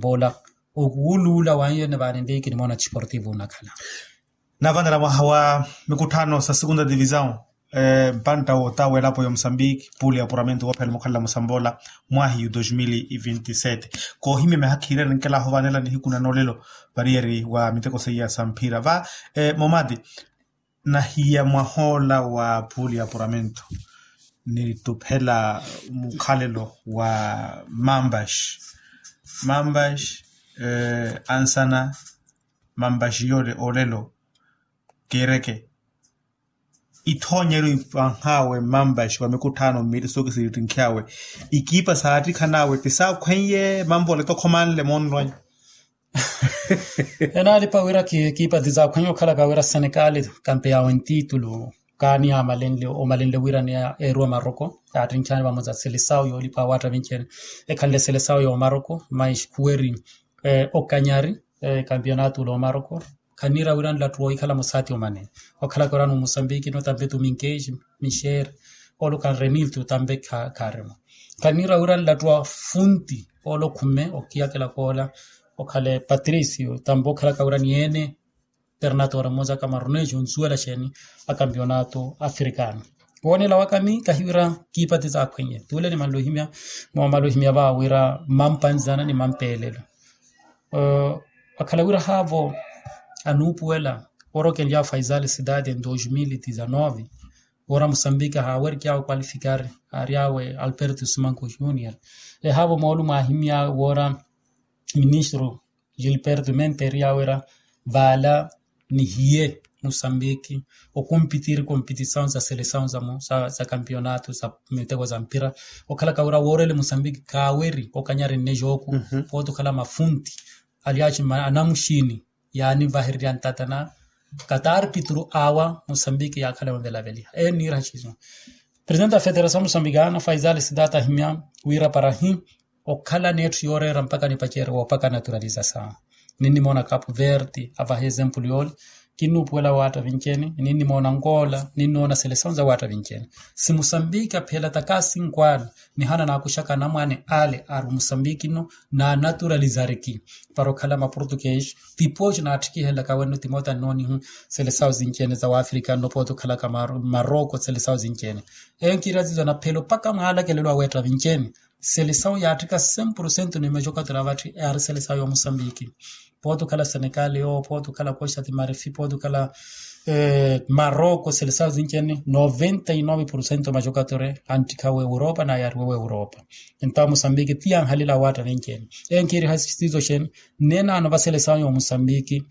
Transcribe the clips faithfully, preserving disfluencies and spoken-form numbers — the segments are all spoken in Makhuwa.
Poola okuwuluula wanyu ene vaanenleyi kinimoona tisportivu onakhala. Navanela mwaha wa mikutthano sa segunda divisão mpantta wootawa elapo ya omusambiki puuli ya apuramento woophela mukhalela musamboola mwahiyu dos mil e vinte e sete. Koohimya mihakhiirya ninkelaaho vaanela nihiku na noolelo variyeri wa miteko seiya sa mphira va momati. Nahiya mwahoola wa puuli ya apuramento nituphela mukhalelo wa mambaxi mambaxi ansana mambaxi yoole olelo kiireke ithoonyeryo ipanhaawe mambaxi wa mikutthaano mmili sookisi ittinkhiyaawe ikiipa saattikhanaawe ti saakhweiye mamvola tokhomanle moonronya. Enaalipa wira kiipa ti saakhweiye okhalaka wira senekaali kampe yaawe ntiitulu kaani yamalenle omalenle wira ni eruwa maroko yaattinkhiyani vamosa selesawu yoolipa awaatta vinci ene ekhanle selesawu yoomaroko mais khuweri okanyari kampiyonaatu loomaroko. Khanniira wira nlattu woohikhala musaati omane okhalaka wira ni musambiki no tampe tuminkeji mixeeri oluka nreniltu tampe khaaremo. Khanniira wira nlattu wa funti oolo khume okiyakela koola okhale patricio tampe okhalaka wira ni ene ternatora mmosa ka maronejo onsuwela xeeni a kampiyonato afrikano. Woonela waka mi kahiwira kiipati saakhweiye tuule ni manlohimya moomalohimya vaawo wira mampanzana ni mampeelelo. Akhala wira haavo anuupuwela orokenlyawe faisal sidade dos mil e dizanove wira musambiki ahaawerikyawe kwalifikari aaryawe alberto simanko junior. Ehaavo moolu mwaahimyaawe wira ministro gilberto menteryawe wira vaala nihiye musambiki okompitiri kompitisawu sa selesawu sa kampiyonato sa miteko sa mpira okhalaka wira woorele musambiki kaaweri okanyari nne jooku pooti okhala mafunti alyaaci anamuxini yaanivahererya ntata na kataarpituru awa musambiki yaakhala yonvelaveliha eyo nniiraha xiiso. Presidente a federasawu musambikana faisal sidata ahimya wira parahi okhala n'etthu yooreera mpakha nipaceeriwa opakha naturalizasawu. Ninnimoona capu verde avaha ezempulu yoole kinnuupuwela waatta vinci ene ninnimoona angola ninnoona selesawu za waatta vinci ene. Si musambiki apheela takasi nkwaala nihana naakuxaka anamwane ale ari musambiki nno naanaturalizariki para okhala maportuguese. Tipooci naattikihelaka wenno timoota nnoonihu selesawu zinci ene za waafrika nno pooti okhalaka maroko selesawu zinci ene. Eyo nkiira zizo anaphelo mpakha mwaalakelelo aweetta vinci ene selesawu yaatthika cem porcento ni majokatera avatthi yaari selesawu ya musambiki. Pooti okhala senekali yoowo pooti okhala costa ti marifi pooti okhala maroko selesawu zinci ene noventa e nove porcento majokatera antthika w'europa nayaariwe w'europa. Entawo musambiki ti yanhalila awaatta vinci ene. Eyo nkiiriha sizo xene neenaano va selesawu ya musambiki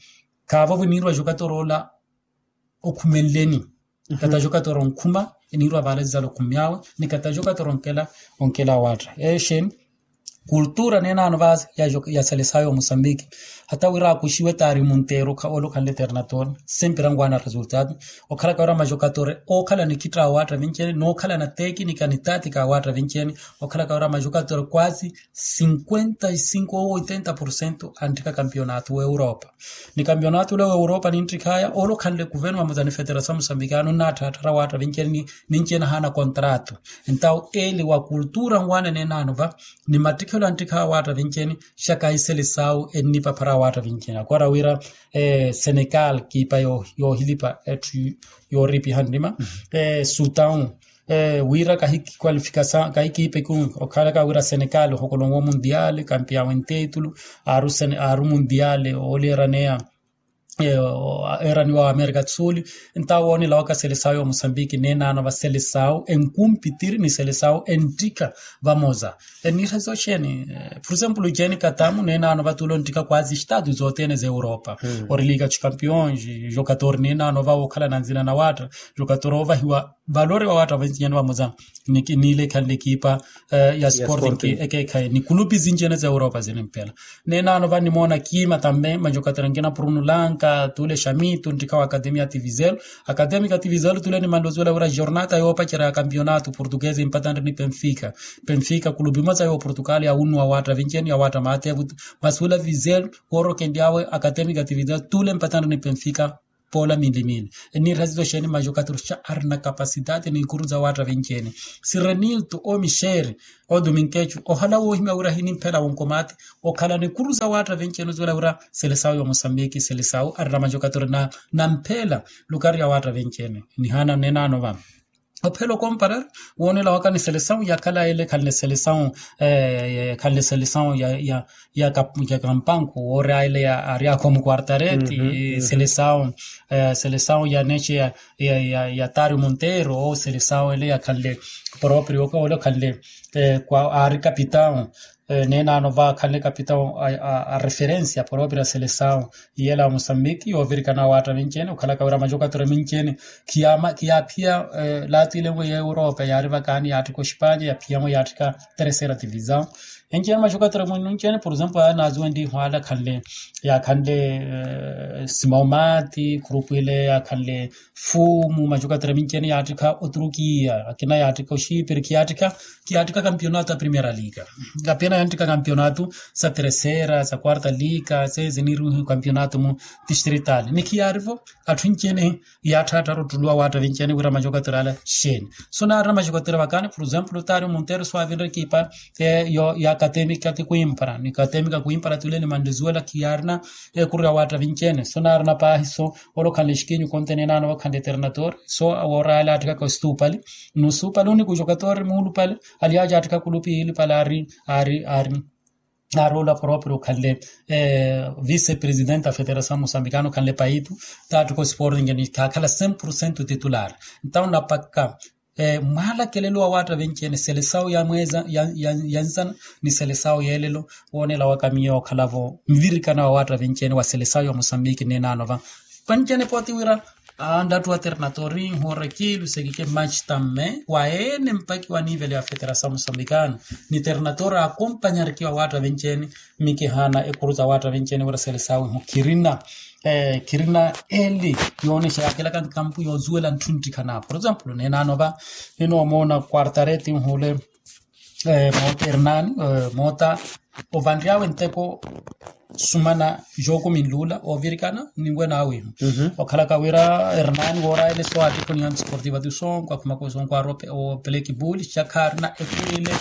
khaavo viniiriwa jokatera ola okhumenleni. Kata jokatera onkhuma eniiriwa vaala zizala okhumyaawe ni kata jokatera onkela onkela awaatta eyo xeni. Kultura neenaano va ya selesawu ya musambiki hata wira akuxiwe taari munteeru ola okhanle ternator sempira anguana resultado. Okhalaka wira majokatera ookhala nikhitta awaatta vinci ene nookhala na tekinika ni tatika awaatta vinci ene okhalaka wira majokatera kwasi cinquenta e cinco ou oitenta porcento antthika kampiyonato w'europa. Ni kampiyonato ole w'europa ninttikhaya ole okhanle kuveno vamosa ni federasawu musambikano nnaatthaattharya waatta vinci ene ninci ene ahaana kontrato. Entawo ele wa kultura nwaana neenaano va ni mattikhelo anttikhaya waatta vinci ene xaka iselesawu ennipaphara waatta vinci ene akora wira senegal kiipa yoohilipa etthu yooripiha nnima. Sutawu wira kahikikwalifikasa kahikiipa eku okhalaka wira senegal ohokolonwa omundiale kampiyawe nteetulu aaru mundiale ooliraneya. Eeraniwa wa amerika tsuli. Entawo woonela waka selesawu ya musambiki neenaano va selesawu enkumpitiri ni selesawu enttika vamosa. Eniira soxeeni por exemplo jeni katamu neenaano va tuula onttika kwasi estatu zothene za europa. Ori liga dos campeões jogador neenaano va wookhala na nzina na waatta jogador oovahiwa valori wa waatta vinci ene vamosa. Niile ekhanle ekipa ya sporting ekeekhayi ni kulupi zinci ene za europa zinimpela. Neenaano va nimoona kiima tambe majokatera nkina pruno lanka tuule xamitu nttikha wa academia tivizel. Academia tivizel tuule nimanle ozuwela wira jornata yoopacerya ya campeonato portuguese empatanre ni penfica. Penfica kulupi mosa ya oportugal yawunnuwa waatta vinci ene ya waatta maatevu. Masi wila vizel woorokenly'awe academia tivizel tuule empatanre ni penfica. poola minli minli. Eniirihasiza oxeeni majokathuru xa arina kapasidade ni ikuru za waatta vinci-ene. Sirenilto o mixeri o duminkecu ohala woohimya wira ahinimphela wonkomati okhala ni ikuru za waatta vinci-ene ozuwela wira selesawu ya mosambiki selesawu arina majokathuru na namphela lukari ya waatta vinci-ene. Nihaana neenaano va ophela okomparar woonela waka ni selesawu yakhala ele khanle selesawu khanle selesawu ya ya ya kampanku woori aile ya ari akhomu quartareti selesawu selesawu ya neche ya ya ya tario monteiro ou selesawu ele yakhanle proprio oka ole okhanle kwa ari kapitawu neenaano va akhanle kapitawu a referencia proprio a selesawu iyela wa mosambiki yoovirikana waatta vinci-ene okhalaka wira majokathuru minci-ene khiyaama khiyaaphiya laatiile mwe ya europa yaari vakaani yaatthika oxipanya yaphiya mwe yaatthika terceira divisão. Enci-ene majokathuru mwinnunci-ene por exemplo aya naazuwenliha ala khanle yakhanle simaumati khurupu ile yakhanle fumu majokathuru minci-ene yaatthika oturukiya akina yaatthika oxipiri khiyaatthika khiyaatthika kampionato a primeira liga. Apena yantteka kampionato sa terceira sa quarta liga sezi niruhi kampionato mu distrital ni khiyaarivo atthu enci-ene yaatthaatthara ottuluwa waatta vinci-ene wira majokathuru ala xeeni. So naarina majokathuru vakaani por exemplo tario monteiro so avinre ekipa ya akatemika ti kuimpara ni katemika kuimpara ti ule ni manlezuwela khiyaarina ekuru ya waatta vinci-ene so naarina paahi so ole okhanle xikinyu konte neenaano okhanle eternator so woora ale aatthikaka ositupali. Nusupali unikujokatori muulupali ali aja aatthika kulupi ilupali ari ari ari ari ola proprio okhanle vice presidente a federasaw mosambikana okhanle paitu taatthika osporting ni khaakhala cem por cento titular. Ntawo napakka mwaalakelelo wa waatta vinci-ene selesawu ya mweza ya nzana ni selesawu yeelelo woonela waka miyo okhalavo nvirikana wa waatta vinci-ene wa selesawu ya mosambiki neenaano va. Panci-ene pooti wira anlattu wa ternatori nhoora kiilu sekike machi tamme wa ene mpaki wa nivele ya federasaw mosambikana ni ternatori akompanyarikiwa waatta vinci-ene. Mikihaana ekuru za waatta vinci-ene wira selesawu ihu khirina khirina eli yoonexa yaakelaka nkampu yoozuwela ntthu nttikhana por exemplo neenaano va ninoomoona quartareti nhuule moota ernani moota ovanry'awe nteko sumana jookumi nluula oovirikana ninwena awihu okhalaka wira ernani woorayele so aattikhoniya nsportiva ti sonko akhumaka osonko aari opelekipuli xakhaarina ekuru ile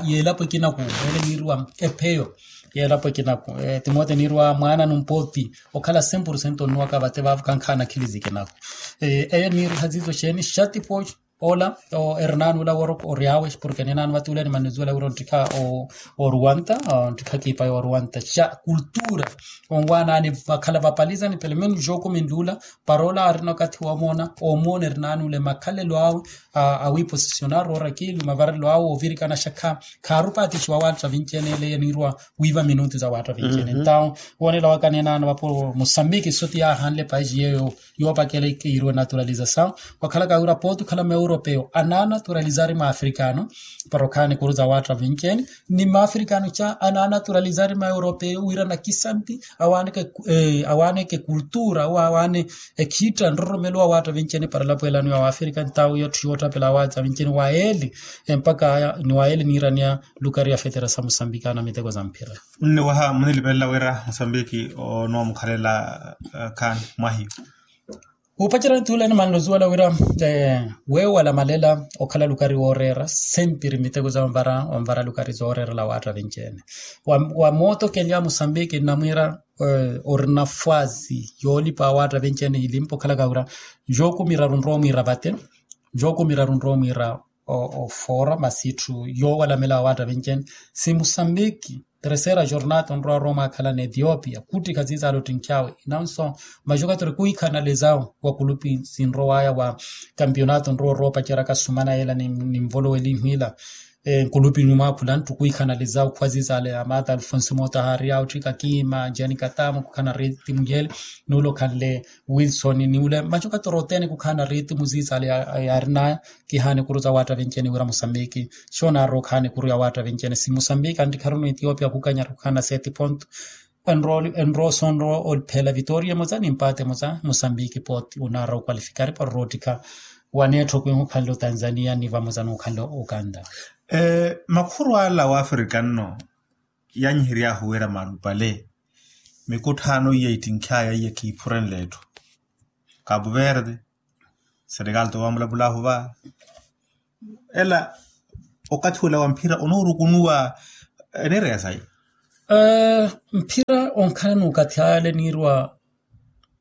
yeelapo ekinaku ele niiriwa epheyo yeelapo ekinaku timote niiriwa mwaana numpoti okhala cem por cento onnuwaka vate vaavo kankhaana akhili zikinaku. Eyo niiriha ziizo xeeni xatipo ola ernani ula woro ory'awe porke neenani vate ule animanizuwela wira onttikha oruwanta onttikha kiipa ya oruwanta xa kultura onwaanani vakhala vapalizani pelo menos jookumi nluula para ola aarina okathi woomoona oomoona ernani ule makhalelo awe awiiposisionar oora kiilu mavarelo awe oovirikana xa kha khaarupaatixiwa waatta vinci-ene ele eniiriwa wiiva minutu za waatta vinci-ene entawo woonela waka neenaano vapo mosambiki soti yaahanle paisi yeeyo yoopakela ikiiriwe naturalizasaw. Wakhalaka wira pooti okhala meuropeo anaanaturalizari maafrikano para okhaani ekuru za waatta vinci-ene ni maafrikano xa anaanaturalizari maeuropeo wira nakisanti awaaneke awaaneke kultura ou awaane ekhiitta nroromelo wa waatta vinci-ene para elapwelano ya waafrika entawo iyo tthu yootthapela awaatsa vinci-ene wa eli empaka aya ni wa eli niiraniya lukari ya federasaw mosambikana miteko za mphira. Nniwaha munilipelela wira mosambiki onoomukhalela khaani mwahiyo. Wuupacerya ntuulani manlozuwela wira weewala malela okhala lukari wooreera sentiri miteko za onvara onvara lukari zooreerela waatta vinci-ene wa mootokelya mosambiki nnamwiira orina fwazi yoolipa waatta vinci-ene ilimpa okhalaka wira jookumi iraru nroomwiira vate jookumi iraru nroomwiira ofoora masi itthu yoowalamela wa waatta vinci-ene si mosambiki terceira jornata onrowa rooma akhala n'etiopia kuttikha ziizaale ottinkhyawe inanso majokatori kwiikhanalizawo wa kulupi sinrowaya wa kampionato onrowa oroopaceraka sumana yeela ninvolowelihu ila nkulupi numwaakhula nttu kwiikhanalizawo khuwa ziizaale amaata alfonso moota haari awo otthika kiima jani katamu khukhana ritimu yeele nuula okhanle wilson ni ule majokatori othene khukhana ritimu ziizaale yaarinaya. Kihaana ekuru za waatta vinci-ene wira mosambiki xoonaari okhaana ekuru ya waatta vinci-ene si mosambiki anttikharunu etiopia khukanyara khukhaana seti ponto enrowa sonrowa olipheela vitoria emosa ni mpaate emosa mosambiki pooti onaara okwalifikari para oroottikha waneettho kwihu okhanle otanzania ni vamosa n'okhanle okanda. Makhuru ala wa afrika nno yanyihery'ahu wira malupale mikutthaano iya ittinkhy'aya iya khiiphurenle etthu. Kapu verde. Senegal towa mulapulahu va. Ela okathi ula wa mphira onoorukunuwa. Enireya sayi. Mphira onkhala n'ukathi ale niirwa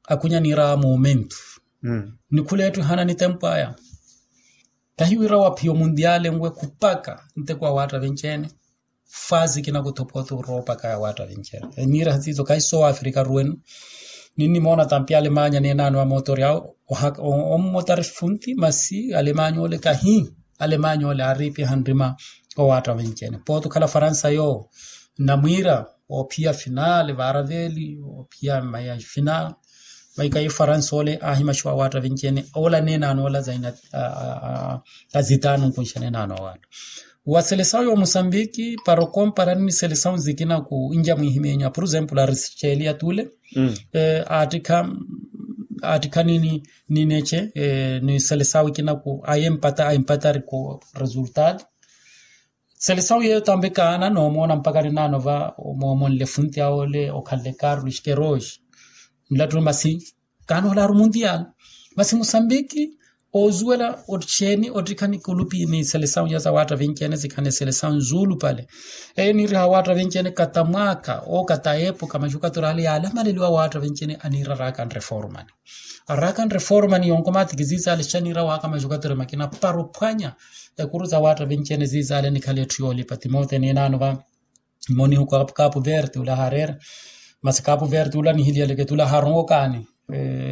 akunya niira a momento. Nikhula etthu ehana ni tempu aya. Kahiwira waphiya omundiale nwe khupaka nteko awaatta vinci-ene. Fasi kinakuthopothu roopaka ya waatta vinci-ene eniira hasiiso kahi soowa afrika ruwenu. Ninnimoona tampi alemanya neenaano wa mootori awo. Ommotari funti masi alemanya ole kahi alemanya ole aariipiha nrima. Owaatta vinci-ene pooti okhala faransa yoowo nnamwiira oophiya finale varaveli oophiya maya finale. Vaika ifaransa ole aahimaxiwa awaatta vinci-ene ola neenaano ola zaina azitaano nkunxa neenaano awaatta. Wa selesawu ya omusambiki para okomparani ni selesawu zikina ku inja mwihimenyo a por exemplo a risichelia tule. Aattikha nini nineche ni selesawu ikina ku a empatari ku resultado. Selesawu yeeyo tambi kaana noomoona mpakha ninaano va omoomonle funti awo ole okhanle carlos queroge. Nlattulu masi kaana olaaru mundial. Masi musambiki ozuwela oxeeni ottikha ni kulupi ni selesawu ya zawaatta vinci-ene zikhane selesawu nzulupale. Eyo niiriha awaatta vinci-ene kata mwaaka oo kata epoka maxukatura ale yaalamaleliwa awaatta vinci-ene aniira araaka nreformani. Araaka nreformani yonkomaatiki ziizaale xaniira waaka maxukatura makina para ophwanya ekuru zawaatta vinci-ene ziizaale nikhale etthu yoolipa timote ninaano va. Monihu kapu verde ula haareera. Masi kapu verde ula nihiliyaleke tula haaronwe okaani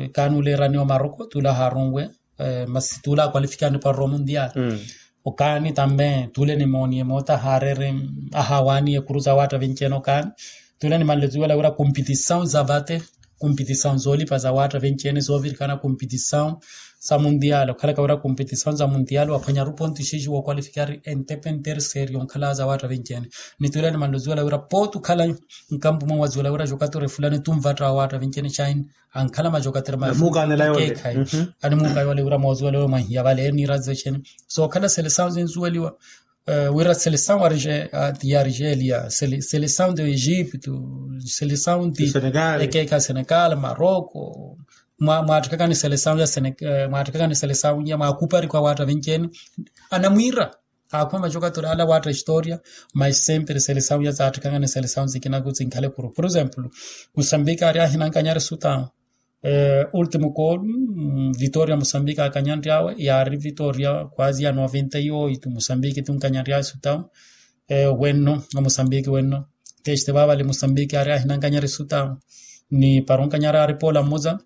okaani ula eraniwa maroko tula haaronwe. Masi tula akwalifikani para omundial. Okaani tambe tule nimooniye moota haareere ahawaaniye ekuru zawaatta vinci-ene okaani. Tule nimanle zuwela wira kompitisawu zavate kompitisawu zoolipa zawaatta vinci-ene zoovirikana kompitisawu za mundial okhalaka wira kompetisawu za mundial waphwanyaru pontu xixiwo okwalifikari entepe nterseeri yonkhala zawaatta vinci-ene. Ni tule nimanle ozuwela wira pooti okhala nkampu mwe wazuwela wira jokatori fulani tunvatta awaatta vinci-ene china ankhala majokatori makeekhayi. Animuuka yoole wira moozuwela wira mwanhiya vale eniira zexeni sookhala selesawu zinzuweliwa wira selesawu ya argelia selesawu de egipto selesawu de ekeekha senegal maroko. Mwaattikakani selesawu ya senegal mwaattikakani selesawu ya mwaakuparikwa waatta vinci-ene anamwiira. Aakhume majokatori ala waatta historia. Mas sempre selesawu ya zaattikakani selesawu zikinaku zinkhale kuru por exemplo musambiki aari ahinankanyari sutawu. Ultimo kolu vitoria musambiki akanyanryawe yaari vitoria kwasi ya noventa y oito musambiki tunkanyanryawe sutawu. Wenno omusambiki wenno teste vavale musambiki aari ahinankanyari sutawu ni para onkanyari aari poola mmoza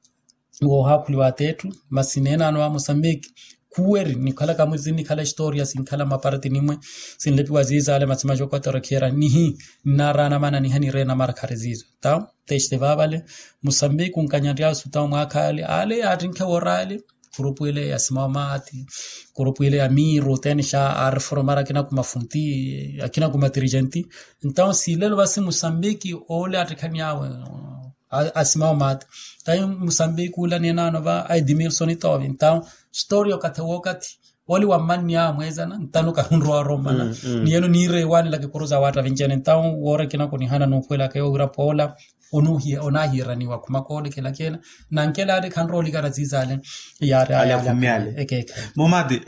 woohaakhuliwa ateettu. Masi neenano a musambiki khuweri nikhalaka mwizi nikhala historia sinkhala maparti nimwe sinlepiwa ziizaale masi majokatori khiira nihi nnaaraana mana niha nireena mara khari ziizo. Tawo teste vavale musambiki onkanyaryawe sutawo mwaakha ale ale yaattinkhe woora ale kurupu ile ya simawo maati kurupu ile ya miiru tenisha aariforomara akina kumafunti akina kumatirigenti. Ntawo siilelo vasi musambiki ole attikhani awe asimawo maati tayi musambiki ula neenano va aidimilsoni toovi ntawo sitoria okathi wookathi oli wa mmanni awe mweezana ntano kahunrowa orommana. Ni eno niireewanela kikuru za waatta vinci-ene ntawo woora ekina kunihana nuupuwelaka yoowira poola onaahiiraniwa khuma koolekela kena nankela ale khanrowa olikana ziizaale yaari ale akhumme ale ekeekha. Momati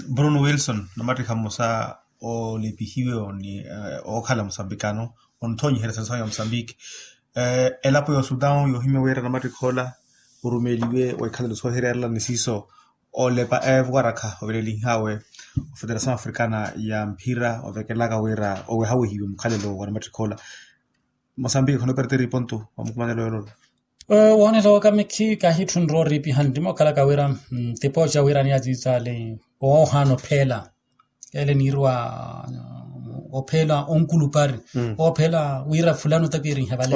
bruno wilson namattikha mmosa olepihiwe ni ookhala musambikano onthonyiherya selesawu ya musambiki elapo ya osutawu yoohimya wira namattikha ola orumeliwe wa ikhalelo soohererela ni siiso olepa eevowarakha ovelelinhawe ofederasawu africana ya mphira ovekelaka wira owehawehiwe mukhalelo wa namattikha ola. Mosambiki khonooperteri pontu wa mukumanelo yololo. Woonela waka mikhi kahitthu nrooriipiha nrima okhalaka wira tipooca wira ni aziizaale oohaana opheela ele niirwa opheela onkulupari opheela wira fulani otapirinhe vale.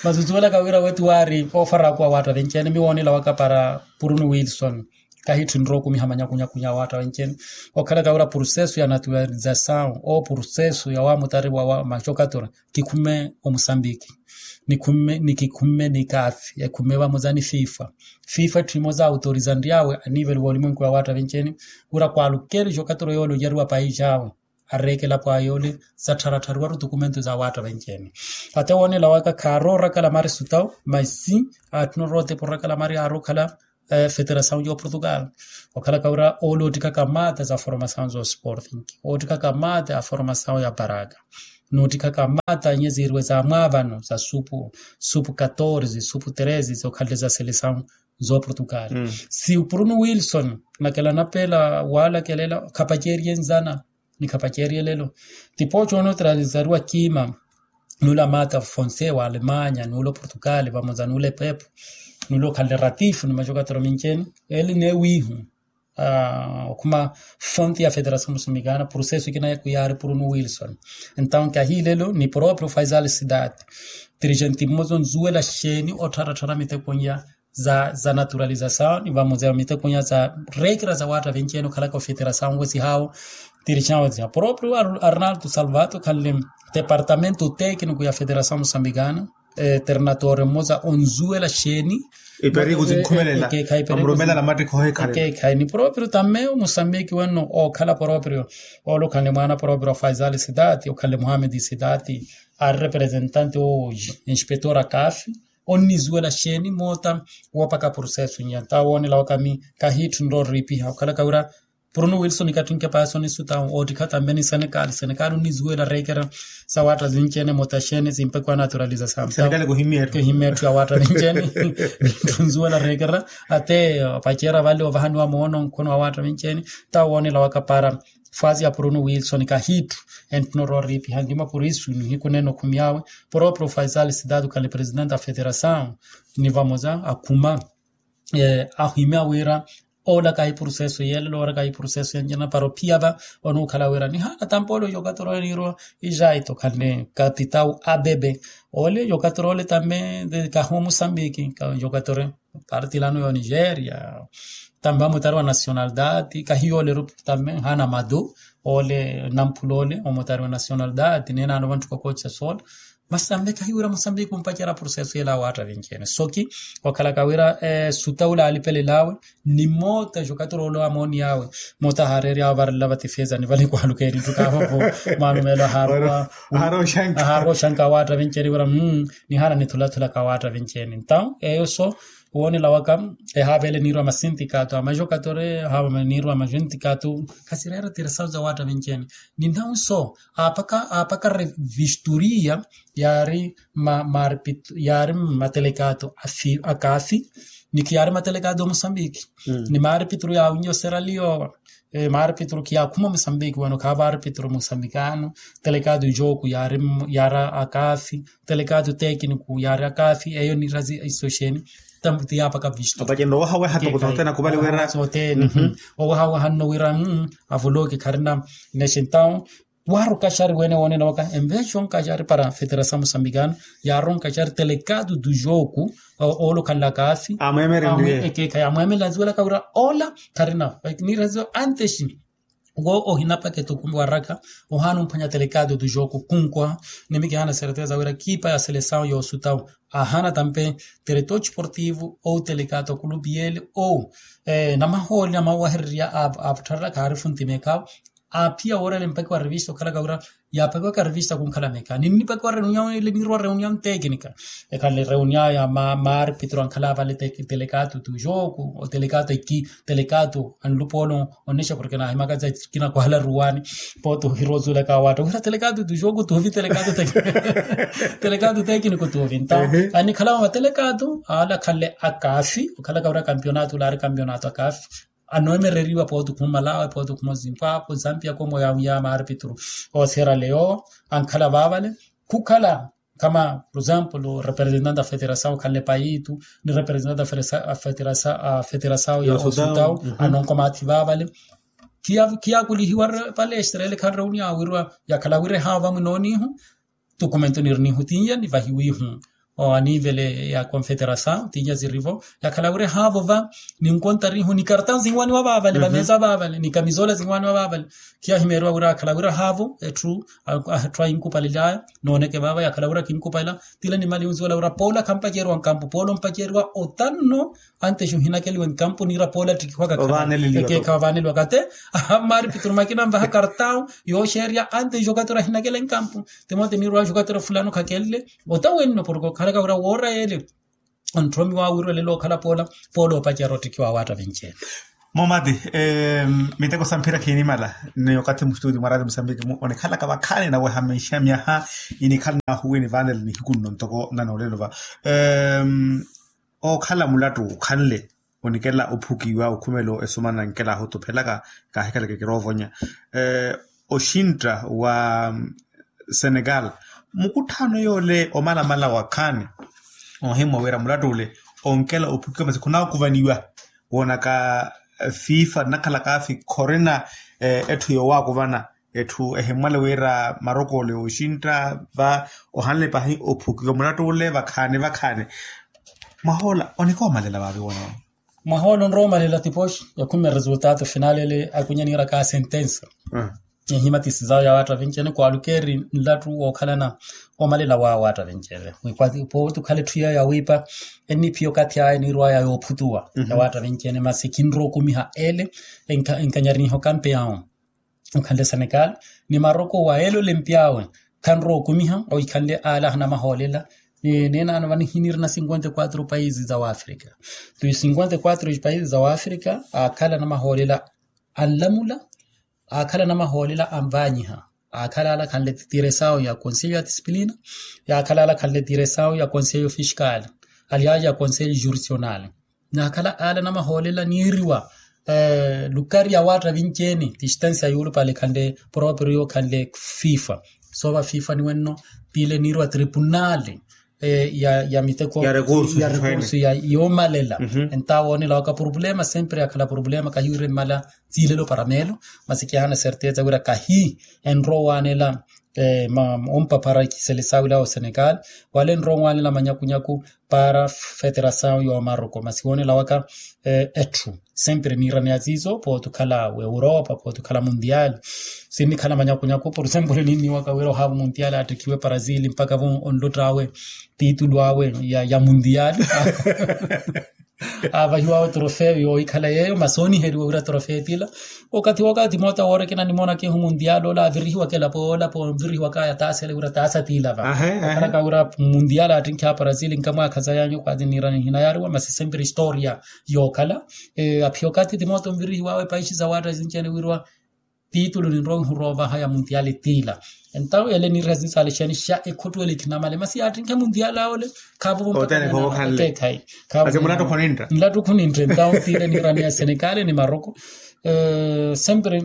Masi osuwelaka wira wetu waari oofaraku awaatta venci-ene miwoonela waka para puruni wilson kahitthu nrowa okumiha manyakunyakunya awaatta venci-ene okhalaka wira pursesu ya naturalizasawu oo pursesu ya waamutari wa macokatura kikhumme omusambiki ni kikhumme ni kaafi ekhumme vamoza ni fifa. Fifa etthu imoza autoriza nryawe anivelo va olimwenku ya waatta venci-ene wira kwaalukeli cokatura yoole oyariwa paisi awe areekela pwaayoole. Zattharattharuwaru tukumentu za waatta venci-ene. Ate woonela waka khaaroorakala mari sutawu masi atthuna orootepa orakala mari aarookhala federasawu ya oportugal. Okhalaka wira oole oottikhaka maata za formasawu za osporting, oottikhaka maata a formasawu ya paraka, noottikhaka maata nyeziiriwe za mwaavano za supu, supu katorze supu treze zokhalele za selesawu za oportugal. Si o bruno wilson nakela napeela waalakelela khapaceeriye nzana ni khapaceeriye lelo. Tipooci onootiralizariwa kiima nula maata fonse wa alemanya nula oportugal vamoza nula epepo nula okhanle ratifu ni majokatero minci-ene. Eli neewiihu okhuma fonte ya federasawu musumikana proseso ekina yaku yaari bruno wilson. Entawu kahiilelo ni proprio faisal sidati tirijenti mmoza onzuwela xeeni ottharattharya mitekonya za naturalizasawu ni vamoza mitekonya za reekera za waatta vinci-ene okhalaka ofeterasawu wesihawo. Tirijenti proprio arnaldo salvato khanle departamento tekiniku ya federasawu musambikana terinatore mmoza onzuwela xeeni. Iperiku zinkhumelela amurumelela mattikho oheekhalela. Ni proprio tamme omusambiki wenno ookhala proprio oolukhanle mwaana proprio wa faisal sidati okhanle muhammed sidati ari representante o inspector akafi onnizuwela xeeni moota woopaka proseso nnya nta woonela waka mi kahiitthu nrooriipiha okhalaka wira bruno wilson kattinke paasi onisutawu oottikha tambe ni senekali senekali onnizuwela reekera sa waatta vinci-ene moota xeeni zimpekwa naturalizasawu. Kuhimya etthu ya waatta vinci-ene. Ntthunzuwela reekera ate opaceera vale ovahaniwa moono nkhono wa waatta vinci-ene. Nta woonela waka para fasi ya bruno wilson kahiitthu entthuna orooriipiha ntima purisu nihiku nene okhumi awe proprio faisal sidati okhale presidente a federasawu ni vamoza akhuma ahimya wira oolaka ayi proseso yeelelo ooraka ayi proseso yanjana para ophiya va onuukhala wira nihaana tampoole ojokatoro eniirwa ijaito khanle katitawu abebe ole ojokatoro ole tambe kahu musambiki ojokatoro partilano yo nigeria. Tambe amutari wa nationaldade kahiyo ole rupu tambe nhaana madu ole namphula ole omutari wa nationaldade neenaano vanthu kokocha soola. Masi tambe kahiwira musambiki kumpacerya proseso yela awaatta vinci-ene soki okhalaka wira sutaula alipelelawe ni moota jokatoro ole amooni yawe moota haareeryawe varelela vatifezani vale kwaaluka erittu kaavovo. Mwaano meelo ahaarwa oshanka awaatta vinci-ene wira nihaana nithulathula ka awaatta vinci-ene ntawu eyo so woonela waka ehaavele niirwa masintikato amajokatore ehaavele niirwa masintikato khasireera tirasawu za waatta vinci-ene. Ninnawu so aapaka aapaka revistoria yaari maarpitru yaari matelekato akaafi ni khiyaari matelekato omusambiki ni maarpitru yaawinye oseraliyo. Maarpitru khiyaakhuma omusambiki wano khaavo aarpitru omusambikano. Telekato joku yaari yaari akaafi telekato tekiniku yaari akaafi eyo nirazi isoxeni. Tambuti yaapaka visto apacenre owahaweha tokotokote nakuvali wira sotene owahaweha nno wira avoloki kharina nexentawu. Waaru okaxari wene woonena waka envexa onkaxari para federasawu musambikano yaari onkaxari telekato tu joku oolukhanlaka afi amweemerenliye. Ekeekhayi amweemelenliye aziwelaka wira ola kharina niraziwa antes wo ohinapaka etukumbi waraka ohaana omphwanya telekato tu joku kunkwa. Nimi kihaana serteza wira kiipa ya selesawu yoosutawu ahaana tampe tereto esportivo ou telekato kulupi yele ou namahooli namawahererya aaputharela khaarifu ntimekhawo. Aaphiya woorela empakiwa revista okhalaka wira yaapakiwaka revista kunkhala mekha ninnipakiwa reunion ile niirwa reunion teknika. Ekhanle reunion ya maarpitro ankhala vale telekato tu joku otelekato eki telekato anlupoolo onnexa porke naahimaka za kinakwala ruwani pooti ohiroozuulaka awaatta wira telekato tu joku tuuvi telekato tekiniku tuuvi nta anikhala mama telekato aala khanle akaafi okhalaka wira kampionato ulaari kampionato akaafi. Anoemereriwa pooti okhuma malawi pooti okhuma zimpapwe zambia komo ya maarpitru oosera leo ankhala vaavale khukhala kama por exemplo representante a federasawu khanle payitu ni representante a federasawu ya osutawu anonkomaathi vaavale. Khiyakulihiwa palestre ele khanreuniya awirwa yakhala wira ehaava mwinoonihu tukumento nirinihu tinya nivahiwihu. Aniivele ya confederasaw tinya zirivo yakhala wira ehaavo va, ni nkontarihu ni kartau zinwaniwa vaavale vameeza vaavale ni kamizola zinwaniwa vaavale. Khiyahimeeriwa wira yakhala wira haavo etthu ahinkupalelaya nooneke vaava yakhala wira kinkupala. Tila ni mali yunziwela wira poola khampaceriwa nkampu poola ompaceriwa otanno. Antes ohinakeliwe nkampu niira poola ttikiwaka khavaneliwaka te. Ahammari piturumakina nvaha kartau yooxeerya antes okatira ahinakele nkampu. Timote niirwaaxa okatira fulano khakenle ota wenno porke okhalaka wira woora yeele. Onthomiwa wirwelelo okhala poola poola opacerya ottikiwa waatta vinci ene. Momati miteko sa mphira khiinimala ni okathi mustutio mwa radio musambiki mu onikhalaka vakhaani naweha mixa myaha inikhala nahuwini vanela nihiku nno ntoko nanoolelo va. Ookhala mulattu okhanle onikela ophukiwa okhumelo esomana nkela ahutuphelaka kaahikhaleke kiroovonya oxintta wa senegal. Mukutthaano yoole omalamala wakhaani ohimmwa wira mulattu ole onkela ophukiwa masi khunaakuvaniwa woonaka fifa nnakhalakaafi khorina etthu yoowaakuvana. Etthu ehimmwale wira maroko ole oxintta va ohanle pahi ophukiwa mulattu ole vakhaani vakhaani. Mwahoola onikoomalela vaavi woona. Mwahoola onroomalela tipoxi ekhumme resultato final ele akunya niiraka sentensa. Ehima tisizawo ya waatta vinci ene kwaalukeeri nlattu wookhalana omalela wa waatta vinci ele. Pootukhala etthu yeeyo yawiipa enniphiya okathi aya niirwaya yoophutuwa ya waatta vinci ene masi khinrookumiha ele. Enkanyariniha okampeyawo okhanle senegal ni maroko wa ele olempyawe. Khanrookumiha oikhanle aala ahanamahoolela. Neenano vanihinirina cinquenta e quatro paisi za waafrika. Ti cinquenta e quatro paisi za waafrika aakhala anamahoolela anlamula. Aakhala anamahoolela anvaanyiha. Aakhala ala akhanle tiresawo ya konselho ya disciplina. Yaakhala ala akhanle tiresawo ya konselho fiskali. Aliaja ya konselho jurissionali. Naakhala aala anamahoolela niiriwa lukari ya waatta vinci ene distansia yuulupale khanle proprio khanle fifa. Soova fifa niwenno piile niiriwa tripunali ya miteko ya rekursu ya yoomalela. Entawo woonela waka problema sempre yakhala problema kahiwire mmala. Tsiilelo para meelo masi kihana certeza wira kahi enrowaanela ompaphara ikisele saawila wa senegal wala enrowaanela manyakunyaku para federasaw yoomaroko masi woonela waka. Etthu sempre niiraneya siiso pooti okhala weuropa pooti okhala mundial. Sinnikhala manyakunyaku por sempre ninniwaka wira ohaavo mundial attekhiwe brazil mpakha vo onluttaawe titulu awe ya mundial. Aavahiwawe trofeo yoohikhala yeeyo masi oniheriwa wira trofeo tila. Okathi wookathi moota woorekena nimoonaka ehu mundial ola avirihiwaka elapo olapo onvirihiwaka yataasa ele wira taasa tiilava. Okhalaka wira mundial attinkhiha brazil nkamwaakha sayanyu okathi niiranihinayariwa masi sempre historia yookhala. Aphiya okathi timoota onvirihiwawe paishi za waatta sinci ene wiriwa titulu ninrowa onhurovaha ya mundial tiila. Entawo ele niiriha sinsaale xani xa ekhottuwele khinamale masi yaattinkhe mundial awo ole. Khaavo vompaka nlattu khunintta. Entawo tiile niiraneya senegal ni maroko sempre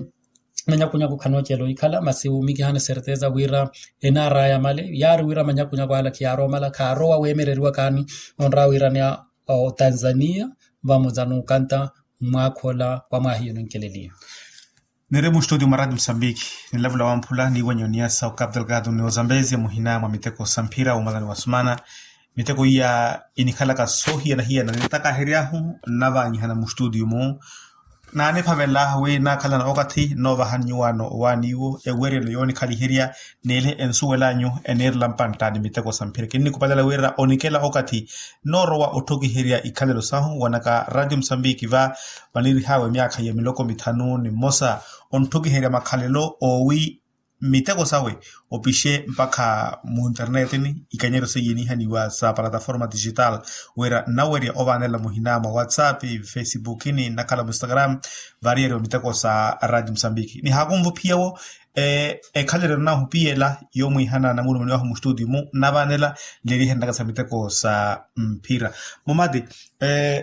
manyakunyaku khanoocela ohikhala masi wuumikihana certeza wira enaaraya male yaari wira manyakunyaku ala khiyaaromala khaarowa weemereriwakaani. Onraya wiiraneya otanzania vamoza n'ukanta mmwaakha ola wa mwaahiyo ninkeleliya. Niri muxtudio mwa radio musambiki ninlavula wamphula niiwenye oniyasa okapu delgado ni ozambezia muhina mwa miteko sa mphira wumalani wa sumana. Miteko iya inikhalaka soohiyana-hiyana nintakaheryahu nnavaanyihana muxtudio-mu. Naaniphavela wi naakhalana okathi nnoovahani nyuwaano owaani iwo eweryelo yoonikhaliherya. Niile ensuwel'anyu eniirela mpantta ni miteko sa mphira kinnikhupalela wira onikela okathi nnoorowa otthukiherya ikhalelo sahu wanaka radio musambiki va. Vaniirih'awe myaakha ya miloko mithanu ni mmosa ontthukiherya makhalelo oowi miteko sawe opixe mpakha munternetini ikanyeryo seiye niihaniwa sa plataforma digital wira nnawerya ovaanela muhina mwa whatsapp facebookini nnakhala muinstagram. Variyeriwa miteko sa radio musambiki nihaakunvuphiyewo ekhalerero naahupiyela yoomwiihana namulumani wahu muxtudio-mu nnavaanela nlerihenlaka sa miteko sa mphira. Mumati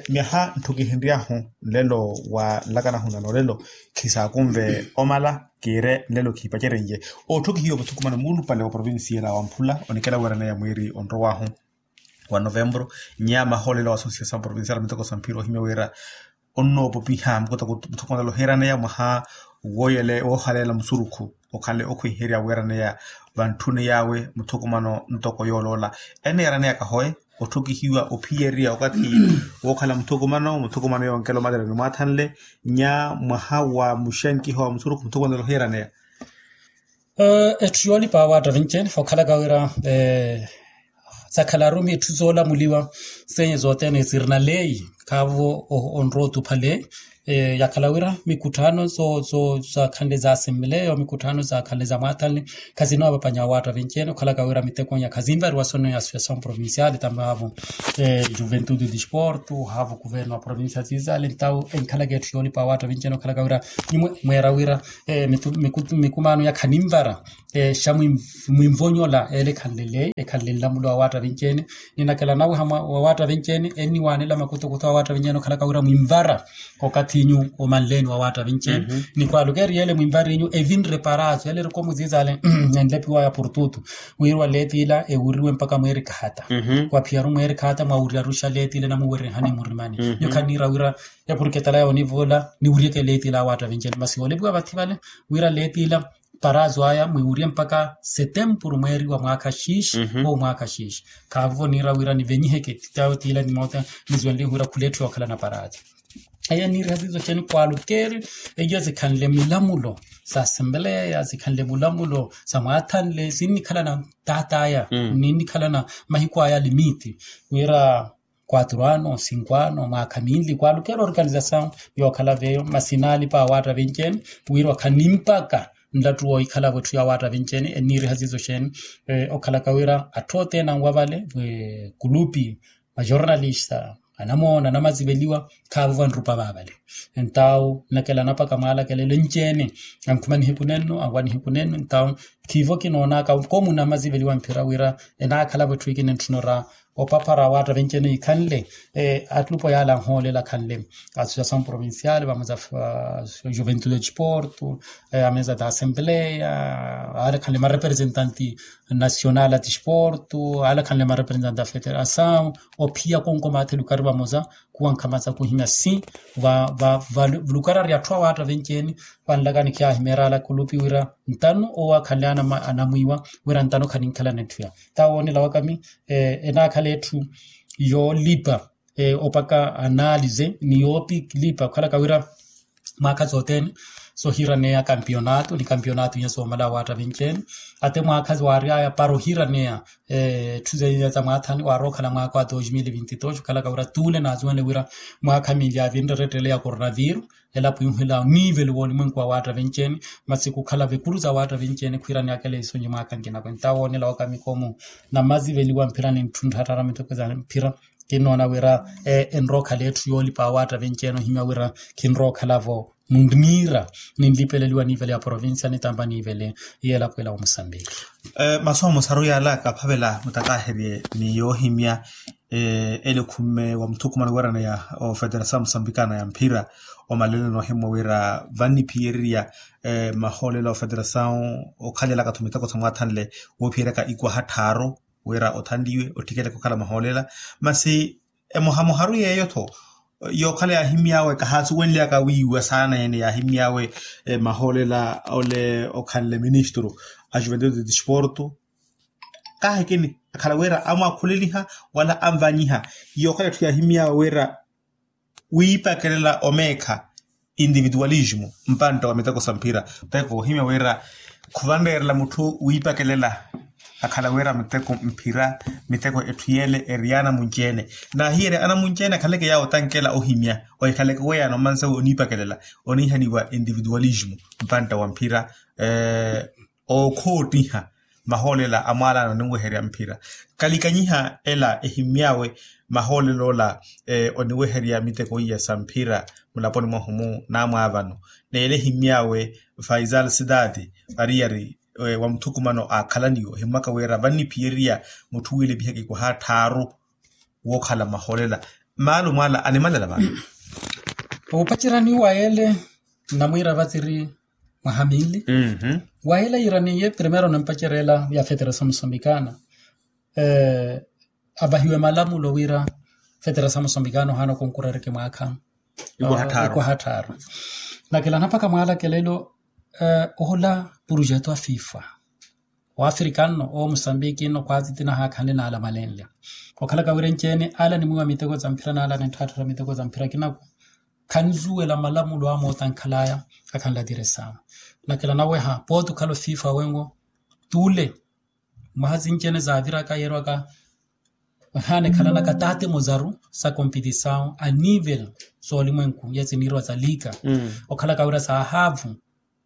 myaha ntthukihenryahu nlelo wa nlakanahu na noolelo khisaakunve omala kiire nlelo khiipacerenye. Ootthukihiwa vathukumano muulupale wa provincia ela wamphula onikela wiraneya mwiiri onrowahu wa novembro nyaama hoolela wa associação provincial miteko sa mphira ohimya wira onnoopopiha mukutako muthukumano ela ohiiraneya mwaha woohaleela musurukhu okhanle okhwiherya wiiraneya vantthuni yaawe muthukumano ntoko yooloola. Ene yaraneyaka hoe otthukihiwa ophiyerya okathi wookhala muthukumano muthukumano yoonkela omaterani mwaathanle nya mwaha wa muxenkiho wa musurukhu muthukumano yoohiyeraneya. Etthu yoolipa awaatta vinci-ene okhalaka wira sakhalaru mitthu zoolamuliwa seenye zothene sirina leyi khaavo onrowa otupha leyi. Yakhala wira mikutthano zakhanle za assembleya mikutthano zakhanle za mwaathanle khazinoowa vapanya awaatta vinci-ene okhalaka wira mitekonya khazinvariwa sono ya associasaw provinciale tambaavo juventude disporto haavo kuverno wa provincia zizale ntawo enkhalaka etthu yoolipa awaatta vinci-ene okhalaka wira nimwe mweera wira mikumaano ya khaninvara xa mwinvonyola ele ekhanle leyi ekhanle nlamulo wa waatta vinci-ene. Ninakela nawe wa waatta vinci-ene enniwaanela makutukutu a waatta vinci-ene okhalaka wira mwinvara okathi inyu omanleeni wa waatta vinci-ene ni kwaluka eriyele mwinvara inyu evinre paraazo ele erikomu ziizale enlepiwaya portutu wiriwa leetila ewuriwe mpaka mweeri kahata waphiyaru mweeri kahata mwawuryaru xa leetila namuwerenhani murimani nyo khanniira wira epurketala ya onivola niwuryeke leetila awaatta vinci-ene masi woolepiwa vathi vale wira leetila paraazo aya mwiwurye mpaka setempuru mweeri wa mwaakha xiixi ou mwaakha xiixi. Khaavo niira wira nivenyiheke titawo tiila nimoota niziwenlihe wira khuleetthu yookhalana paraazo. Eyo niiriha ziizo xeeni kwalukeeri eyo zikhanle milamulo sa assembleya zikhanle mulamulo sa mwaathanle sinnikhalana taataya ninnikhalana mahiku aya limiti wira kwatru ano sinkwano mwaakha minli kwalukeera organizasaw yookhala veyo masinaalipa awaatta vinci-ene wira okhala nimpaka nlattu woohikhalavo etthu ya awaatta vinci-ene enniiriha ziizo xeeni okhalaka wira atthu othene anwa vale kulupi majornalista anamoona anamaziveliwa khaavo vanrupa vaavale. Entawo nnakela anapaka mwaalakelelo enci-ene ankhuma nihiku nenno anwa nihiku nenno entawo khiivo kinoonaka komu namaziveliwa mphira wira enaakhalavo etthu ikina entthunora opaphara awaatta vinci-ene ikhanle atlupo yaala anhoolela akhanle associasaw provinciale vamoza juventude disporto ameza da assembleya aale akhanle marepresentante nacional a disporto aale akhanle marepresentante a federasaw ophiya konko maathe lukari vamoza kuwankha maza kuhimya si va va va lukari ari atthu awaatta vinci-ene. Vanlakani khiyaahimeera ala kulupi wira ntano owo akhanle anamwiiwa wira ntano khaninkhalana etthu ya tawo woonela wakami enaakhala etthu yoolipa opaka analize ni yoopilipa okhalaka wira mwaakha sothene sohiraneya kampionato ni kampionato inya soomala awaatta vinci-ene ate mwaakha waaryaya para ohiraneya etthu zenya za mwaathani waarookhala mwaakha wa dos mil vinti dos okhalaka wira tuule naazuwenle wira mwaakha minli avinre erettele ya coronaviru elapo ihuhela oniveli woolimwenku wa waatta vinci-ene masi kukhala vekuru za waatta vinci-ene khwiraneyakela isonyi mwaakha nkinako entawo woonela wakami komu namaziveliwa mphira ni ntthuntthattara miteko za mphira kinnoona wira enrookhala etthu yoolipa awaatta vinci-ene ohimya wira kinrookhalavo munniira ninlipeleliwa niivele ya provincia nitampa niivele yeelapo ela wa musambiki. Masu amosaru yaala kaphavela mutakaherye ni yoohimya ele ekhumme wa muthukumano wiraneya ofederasaw musambikana ya mphira omaleleno ohimmwa wira vanniphiyererya mahoolelo a ofederasaw okhalelaka-tho miteko sa mwathanle woophiyeryaka ikwaha tthaaru wira othanliwe ottikeleke okhala mahoolela masi emohamoharu yeeyo-tho yookhala yaahimy'awe kahaasuwenly'aka wiiwa saana ene yaahimy'awe mahoolela ole okhanle ministru a juventude disporto kaahikini akhala wira amwaakhuleliha wala anvanyiha yookhala etthu yaahimy'awe wira wiipakelela omeekha individualismo mpantta wa miteko sa mphira. Teko ohimya wira khuvanreerela mutthu wiipakelela akhala wira miteko mphira miteko etthu yeele eri ya anamunci-ene naahiyerya anamunci-ene akhaleke yaawo otankela ohimya ohikhaleke weyano mansa oniipakelela oniihaniwa individualismo mpantta wa mphira ookhoottiha mahoolela a mwaalaano ninweherya mphira kalikanyiha ela ehimy'awe mahoolel'ola oniweherya miteko iya sa mphira mulaponi mwahu-mu naamwaavano neele ehimy'awe faisal sidati variyari wa muthukumano aakhalaniwe ohimmwaka wira vanniphiyererya mutthu wiilepihaka ikwaha tthaaru wookhala mahoolela maalumo ala animalela vano. Opacerani wa yeele nnamwiira vathiri mwaha minli wa yeele yiiraniye primero nampacerela ya federasaw musambikana avahiwe malamulo wira federasaw musambikana ohaana okonkurereke mwaakha ikwaha tthaaru. Nakela anaphaka mwaalakelelo ohola purujeto a fifa Waafrika nno owo musambiki nno khwaatiti nahaakhanle n'ala malenle. Okhalaka wira enci-ene ala animwiiwa miteko za mphira n'ala anintthaattharya miteko za mphira kinaku, khanzuwela malamulo a moota ankhalaya. Akhanla tiresawo nakela naweha pooti okhala ofifa wenwo, t'ule mwaha sinci-ene zaaviraka yeerwaka, ohaana ekhalanaka taate muzaru sa kompitisawu a nivel soolimwenku yesiniirwa sa liika. Okhalaka wira saahaavu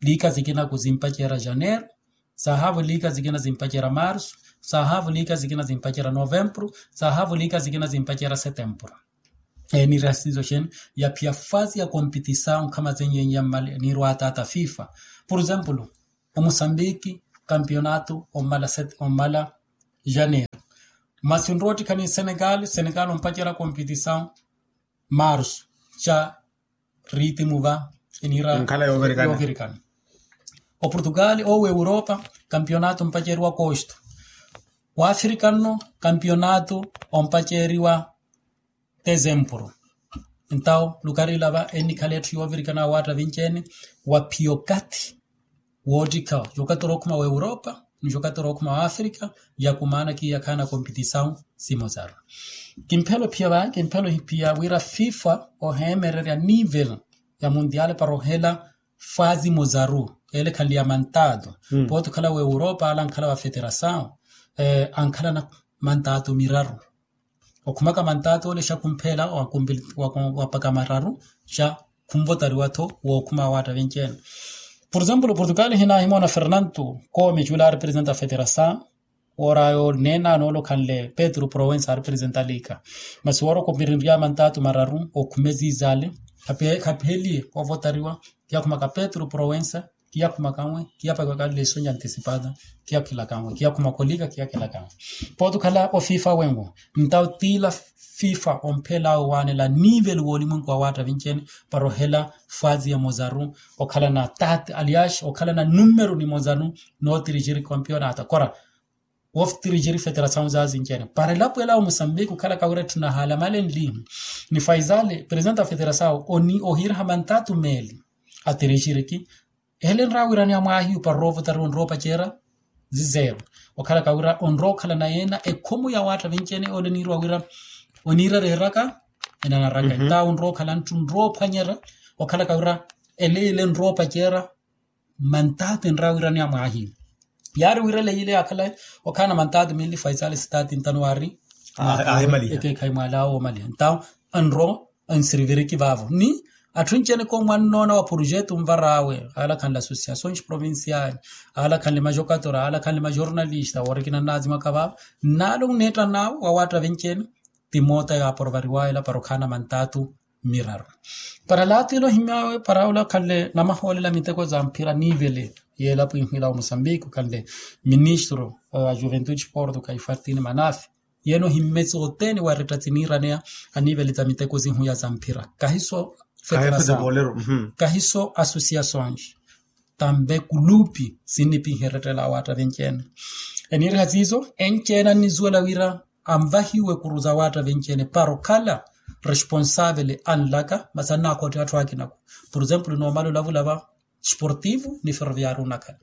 liika sikinaku zimpaceera janeiro, saahaavu liika sikina zimpaceera marsu, saahaavu liika sikina zimpaceera novempuru, saahaavu liika sikina zimpaceera setempuru. Eniira sizo xene yaphiya fasi ya kompitisawu nkhama zenyenye mmale niirwa ataata fifa. Pur exempulu, omusambiki kampionato ommala janeiro, masi onrowa ottikhani senegal senegal ompacerya kompitisawu marsu ca riitimu va eniira nkhala yoovirikana. Oportugal owo europa kampionato ompaceriwa kosto. Waafrika nno kampionato ompaceriwa tezempuru. Entawo lukarila va ennikhala etthu yoovirikana awaatta vinci-ene waphiya okathi woottikha yokatoro okhuma wa europa ni yokatoro okhuma wa afrika, yakumaana kiyakhaana kompitisawu simosaru. Kimphela ophiya vaya kimphela ohiphiya wira fifa oheemererya nivel ya muntiale para ohela fasi mosaru ele khanle ya mantato. Pooti okhala wa europa ala ankhala wa feterasawu ankhalana mantato miraru. Okhumaka mantato ole xa khumphela wapaka mararu xa khumvotariwa-tho wookhuma awaatta vinci-ene. Pur exempulu portugal hinahimoona fernanto kome cula arepresenta federasawu wooraya oneena noolokhanle petru prowensa arepresenta liika. Masi woora okopirinrya mantato mararu okhume ziizale khapheliye ovotariwa. Kiyakhumaka petru prowensa kiyakhumaka nwe kiyapakiwaka lesonja antisipata kiyakhilaka nwe kiyakhumaka olika kiyakhilaka nwe. Pooti okhala ofifa wenwo ntawo tiila fifa omphelawe waanela nivel woolimwenku awaatta vinci-ene para ohela fasi ya mosaru okhalana taate aliaxi okhalana numeru ni mosaru. Nootirixiri kampionata kora wootirixiri feterasawu zaazinci-ene para elapo ela wa musambiki okhalaka wira etthu nahaala malenlihu ni faisale presenta feterasawu ohiiraha mantato meeli atirixiriki. Ele enrawiraniya mwaahiyu para orovotariwa onrowa opaceera zizeero okhalaka wira onrowa okhalana yeena ekhomo ya waatta vinci-ene ole eniirwa wira oniira ereeraka enanaraka entawo onrowa okhala nttu onrowa ophwanyerya okhalaka wira ele ile enrowa opaceera. Mantato enrawiraniya mwaahiyu yaari wira ele ile yaakhala okhaana mantato meeli faisale sitaati ntano waari ekeekhayi mwaala awo omaliha entawo anrowa ansiriviriki vaavo ni atthu anci-ene ko mwannoona wa projeto onvar'awe alakhanle associações provinciais alakhanle majocatora alakhanle majornalista woorikina nnaazimwaka vaavo nnaala onneettan'awe wawaatta venci-ene. Ti moota yaaporovariwaya ela para okhaana mantato miraru para laatile ohimy'awe para olakhanle namahoolela miteko za mphira niivele y'elapo inhwila wa musambiki okhanle ministro wa juventude porto kaifartini manafi. Yeene ohimmesi othene waretta siniiraneya aniivele ta miteko sihuya sa mphira kahiso federasawu kahiso associações tambe kulupi sinnipinha erettela awaatta venci-ene. Eniiriha siiso enci-ene annisuwela wira anvahiwe kuru za waatta venci-ene para okhala responsavele anlaka masi annaakhootte atthu akinaku. Pur exempulu noomala olavula va sportivo ni ferroviario onakhala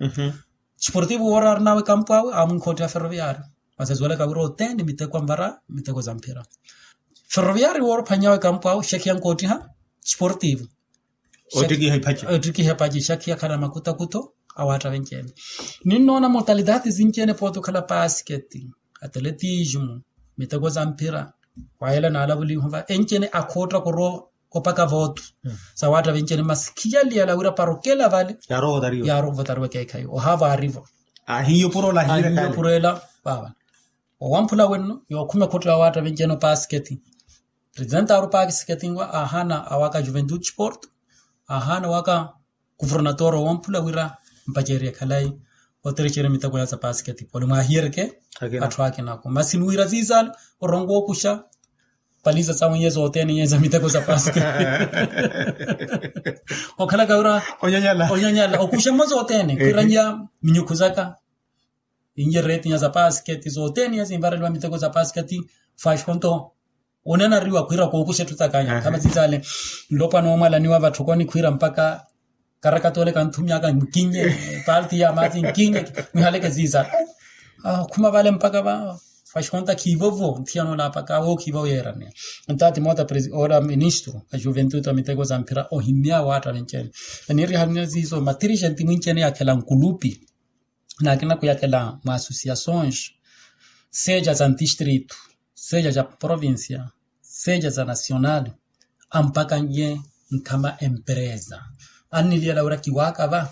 sportivo woora arin'awe ekampu awe amwinkhoottiha ferroviario. Masi asuwelaka wira othene miteko anvara miteko za mphira ferroviario woora ophwany'awe ekampu awe xakhiya ankoottiha sportivo ottikiha ephaci xakhiya khana makutakuto awaatta venci-ene. Ninnoona motalidati sinci-ene pooti okhala pasiketi ateletismo miteko za mphira wayela naalavulihu va enci-ene akhoottaka orowa opaka vootu sawaatta venci-ene masi khiyaliyala wira para okela vale yaarovotariwa ekeekhayi ohaavo aarivo ahiiyo puro ela vaava. Owamphula wenno yookhuma ekhotto ya waatta venci-ene opasiketi presenta aari opasiketi nwa aahaana awaka juventude porto aahaana awaka kuvernatore owamphula wira mpacerye khalayi otirixerye miteko ya sapasiketi poli mwaahiyereke atthu akinaku masi niwira siisala orongo okuxa paliza sawe iye zothene iye za miteko sapasiketi okhalaka wira onyanyala okuxa mmo zothene khwiranyiya minyukhu zaka inye retinya sapasiketi zothene iye sinvareliwa miteko sapasiketi fashonto onanariwa khwiira kookuxa etthu takanya khama sisale nlopwana omwalaniwa vatthokoni khwiira mpakha Karakata ole kanthumyaka nkinye, parti ya mathi nkinye, mwihaleke ziza. Khuma vale mpaka va, fashonta khivovo nthiyano lapaka wo khivovo yeerane. Ntatimota presi ola ministro a juventude a miteko za mphira ohimya waatta vinchene. Eniirihanina zizo matirixenti mwinchene yakhela nkulupi, nakina kuyakela mwa associações, seja za ntistritu, seja za provincia, seja za nacional, ampakanye nkhama empresa. Anniliyela wira kiwaaka va,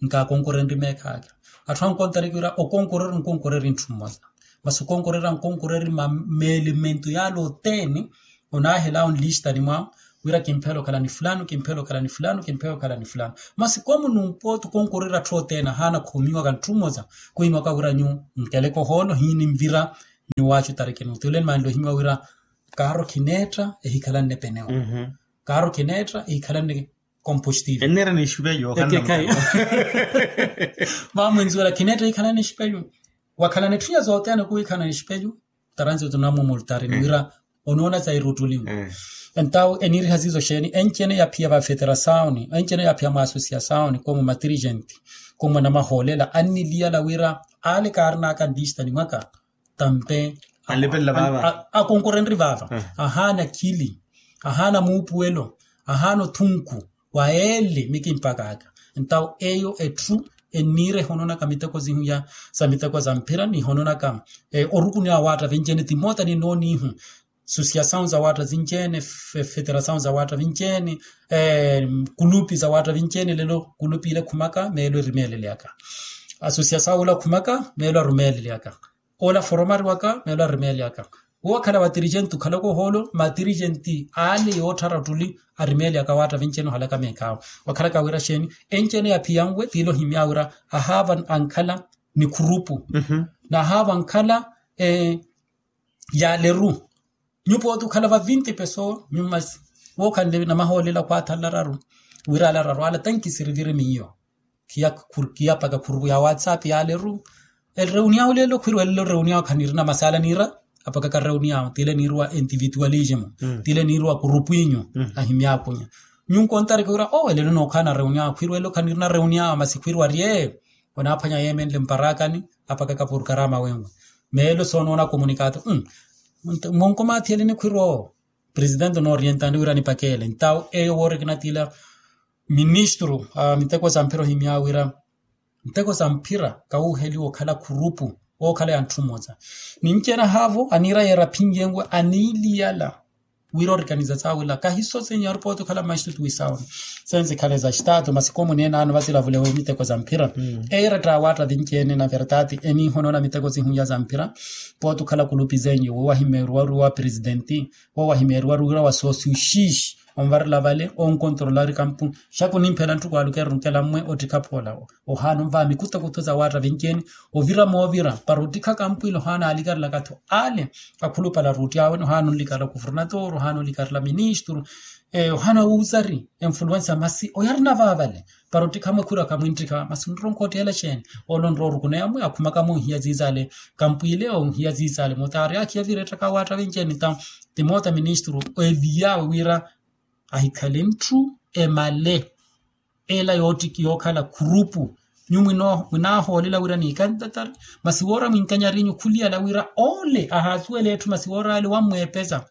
nkaakonkorenri meekhaakha. Atthu ankontariki wira okonkoreri nkonkoreri ntthu mmosa, masi okonkoreri ankonkoreri ma meelemento yale othene. Onaahela onlistani mwawe wira kimphela okhala ni fulano kimphela okhala ni fulano kimphela okhala ni fulano. Masi komu numpooti okonkoreri atthu othene ahaana khumiwaka ntthu mmosa, khwimaka wira nyu nkeleke ohoolo hiini nvira. Nyu waachu tarikini uthule nimanle ohimiwa wira kaaro khineetta ehikhalanne penewo. Kaaro khineetta ehikhalanne kompostive. Enneera ni exipelyu okhanna mukhayi. Vamwinzuwela khineetta ehikhalanne exipelyu. Wakhalana etthu ya zothene khuhikhalana exipelyu. Taransi otunamumultarini wira onoona sa iruttuli. Entawo eniiriha siiso xeeni enchene yaphiya va federasaoni enchene yaphiya mwa associasaoni komu matirixenti, komu anamahoolela anniliyala wira ale kaarinaka nlistani mwaka. Tampe akonkorenri vaava. Ahaana khili, ahaana muupuwelo, ahaana othunku wa ele mikimpakaka. Entawo eyo etthu enniira ehononaka miteko zihuya sa miteko za mphira nihononaka orukuniwa waatta vinchene timoota ninoonihu. Associasawu za waatta vinchene, federasawu za waatta vinchene, kulupi za waatta vinchene lelo kulupi ile khumaka meelo erimeeleleyaka. Associasawu ula khumaka meelo arumeeleleyaka. Ola foromari waka meelo arumeeleyaka. Wo wakhala watirixenti okhalaka ohoolo matirixenti ale yootthara ottuli arumeeleyaka waatta vinchene ohalaka meekhawo. Wakhalaka wira xeeni enchene yaphiya nwe tiile ohimya wira ahaava ankhala ni khurupu, nahaava ankhala yaaleru. Nyupooti okhala va vinti peso nyumasi wookhanle namahoolela khwaatha nlararu. Wira alararu ala tankisiriviri miyo khiyapaka khurupu ya whatsapp yaaleru. Ereuniyawo lelo khwirwa elelo reuniyawo khanirina masala niira apakaka reuniyawo tiile niirwa individualismo, tiile niirwa khurupu inyu ahimyakhunya. Nyunkontareke wira owo elelo nookhaana reuniyawo khwirwa elelo khanirina reuniyawo masi khwirwa arye. Onaaphwanya yeemenle mparakani apakaka porkarama wenwe. Meelo soonoona komunikato monko maathiyeleni khwirwa owo. Presidente onoorientani wira nipakeele ntawo eyo woori kinatila ministru a miteko za mphira ohimya wira miteko za mphira kawuuheliwa okhala khurupu ookhala ya ntthu mmosa. Ninci enahaavo aniira yeera aphinjenwe aniiliyala wira orikaniza saawila kahiso senhor pooti okhala mmaxitutu wisaawuni. Sensi khale za xitaatu masi komu nenaano vasilavulewe miteko za mphira. Eira ettaawatta vinci-ene na vertati eniihonona miteko sihunya za mphira. Pooti okhala kulupi zenyu wo wahimeeriwa ori wa presidenti wo wahimeeriwa ori wira wa sosiuxix onvarela vale onkontorolari kampu. Xaku nimphela ntthu kwaalukeera onkela mmwe ottikha phoola ohaana onvaha mikutokutho za waatta vinci-ene. Ovira moovira para ottikha kampu ile ohaana aalikarelaka-tho ale akhulupale aruutti awe nohaana onlikarela kuvernatoro ohaana onlikarela ministru ohaana wuuzari enfuluwensa masi oyarina vaavale. Para ottikha mwekhuraka mwinttikha masi onronkhootteela xeeni? Ole onroorukuneya mwe akhumaka moohiya ziizale kampwiile ohiya ziizale motaari akhiya virettaka waatta vinci-ene ta timoota ministru eviyawe wira ahikhale ntthu emale ela yoottikhi yookhala khurupu. Nyu mwinaahoolela wira niikantatari masi woora mwinkanyarinyu khuliyala wira ole ahaasuwela etthu masi woora ale wammweepesa